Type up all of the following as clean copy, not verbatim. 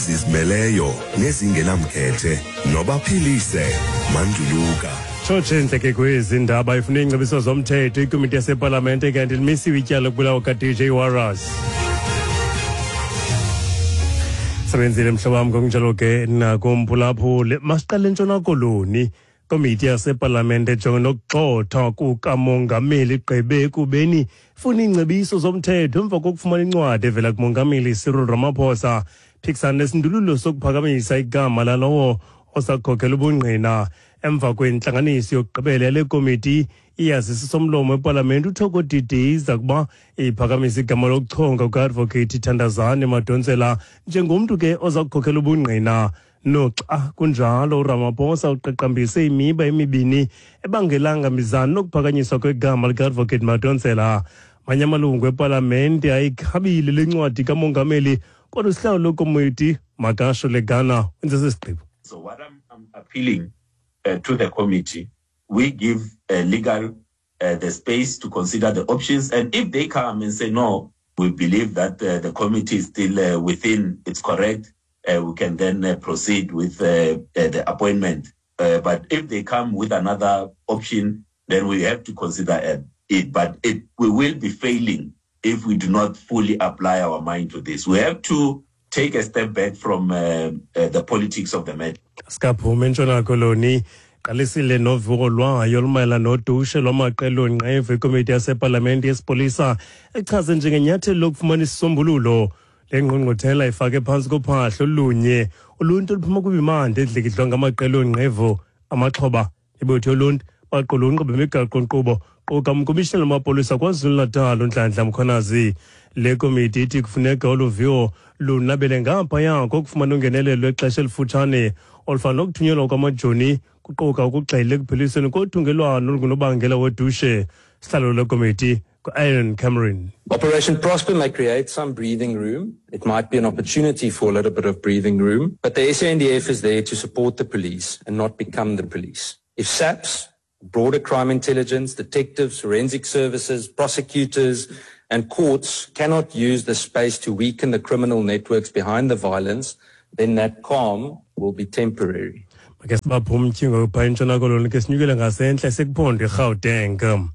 Ezizimeleyo nezingenamkhethe nobaphilise Manduluka. Tshotshe ntle kwezi ndaba ifuna iingcebiso zomthetho ikomiti yasepalamente kanti limisiwe ityala lokubulawa ka-DJ Warras. Sebenzile mhlobo wam, ngokunjalo ke nakumphulaphuli. Masiqale eNtshona Koloni. Komiti yasepalamente ejongene nokugxothwa kukamongameli igqibe ekubeni ifuna iingcebiso zomthetho emva kokufumana incwadi evela kumongameli Cyril Ramaphosa phikisana nesindululo sokuphakamisa igama lalowo osakukhokela ubungqina. Emva kwentlanganiso yokugqibela yale komiti iyazisa somlomo epalamente uThoko Didiza ukuba iphakamisa igama lokuchonga kuka-advocate Thandazani Madonsela njengomntu ke oza kukhokela ubungqina. Noxa kunjalo, uRamaphosa uqaqambise imiba emibini ebangelanga mizano nokuphakanyiswa kwegama lika-advocate Madonsela. Manye amalungu epalamente ayikhabile le ncwadi kamongameli, kodwa usihlalo wekomiti Makasho Legana wenze esi sigqibo. So what I'm appealing to the committee, we give legal the space to consider the options, and if they come and say no, we believe that the committee is still within its correct, we can then proceed with the appointment. But if they come with another option, then we have to consider it. But we will be failing if we do not fully apply our mind to this. We have to take a step back from the politics of the matter. Sikaphuma eNtshona Koloni, qalisile novuko lwayo olumayelana nodushe lwamaqela onqevu ikomiti yasepalamente yesipolisa echaze njengenyathelo lokufumana isisombululo. Le ngqungquthela ifake phantsi kophahlo olunye uluntu oluphuma kwimimandla edlikidlwa ngamaqela onqevu. Amaxhoba, ibutho yoluntu baqulunqe bemigaqo-nkqubo quka umkomishinala wamapolisa KwaZulu-Natal uNhlanhla Mkhwanazi. Le komiti ithi kufuneka olu viwo lunabele ngaphaya kokufumana ungenelelo lwexesha elifutshane olufana nokuthunyelwa kwamajoni, kuquka ukugxila ekuphelisweni kothungelwano olungunobangela wodushe. Sihlalo lekomiti Aaron Cameron. Operation Prosper may create some breathing room. It might be an opportunity for a little bit of breathing room, but the SANDF is there to support the police and not become the police. If SAPS, broader crime intelligence, detectives, forensic services, prosecutors, and courts cannot use the space to weaken the criminal networks behind the violence, then that calm will be temporary. Make sibaphe umtyhingo phaa eNtshona Koloni, ke sinyukele ngasentla sekuphondo iRhawuteng.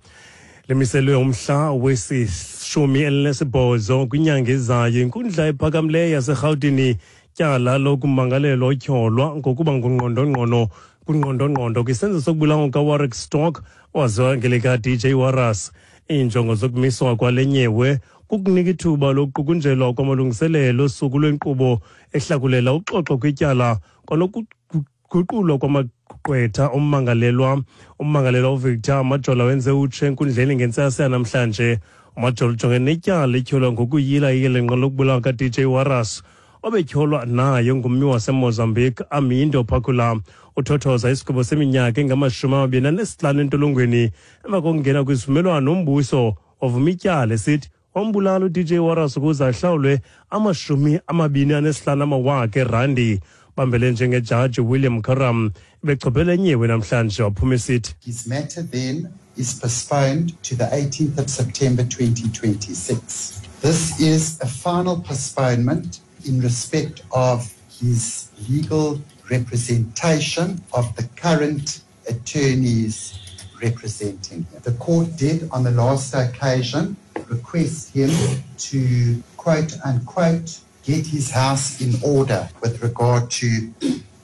Limiselwe umhla wesi-18 kwinyanga ezayo inkundla ephakamileyo yaseRhawutini tyala lokumangalelwa otyholwa ngokuba ngungqondongqondo kungqondongqondo kwisenzo sokubulawa kaWarrick Stock owaziwa ngelika-DJ Warras. Iinjongo zokumiswa kwale nyewe kukunika ithuba lokuqukunjelwa kwamalungiselelo osuku lwenkqubo ehlakulela uxoxo kwityala kwanokuguqulwa kwamagqwetha ummangalelwa. Ummangalelwa uVictor Majola wenze utshe enkundleni ngentsasa yanamhlanje. UMajola ujongene netyala etyholwa ngokuyila iyelenqe lokubulawa ka-DJ Warras obetyholwa naye ngummi waseMozambique Armindo Phakula. Uthothoza isigwebo seminyaka engama-25 entolongweni emva kokungena kwisivumelwano nombuso wavuma ityala esithi wambulala uDJ Warras ukuze ahlawulwe 25 amawaka erandi. Bambele njengejaji William Karam ebechophele nyewe namhlanje waphuma esithi His matter then is postponed to the 18th of September 2026. This is a final postponement in respect of his legal representation of the current attorneys representing him. The court did on the last occasion request him to, quote unquote, get his house in order with regard to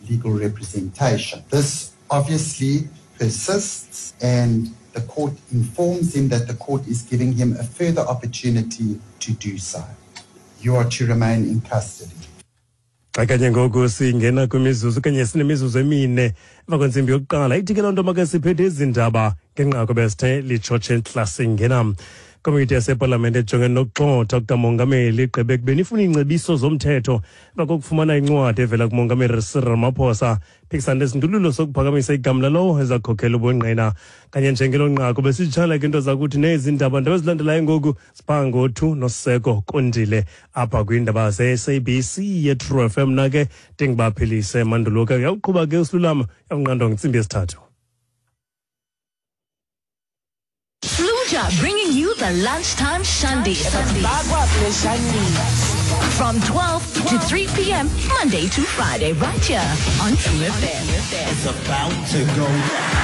legal representation. This obviously persists, and the court informs him that the court is giving him a further opportunity to do so. You are to remain in custody. Xa kanye ngoku singena kwimizuzu kanye sinemizuzu 4 emva kwentsimbi yokuqala, ithi ke loo nto make siphethe ezi ndaba ngenqaku besithe litshotshe ntla. Singena komiti yasepalamente ejongene nokugxotha kukamongameli igqibe ekubeni ifuna iingcebiso zomthetho emva kokufumana incwadi evela kumongameli Cyril Ramaphosa phikisana nesindululo sokuphakamisa igama lalowo ezakhokhela ubungqina. Kanye njengelo nqaku besitshala ke into zakuthi nezi ndaba ndaba ezilandelayo ngoku sipha ngothu noseko kondile apha kwiindaba ze-SABC ye-True FM. Na ke ndingibaphilise manduluka uyawuqhuba ke usilulama yawunqandwa ngentsimbi yesithathu. Fluja, bringing you the lunchtime shandy. From 12 to 3 p.m., Monday to Friday, right here on True FM. It's about to go.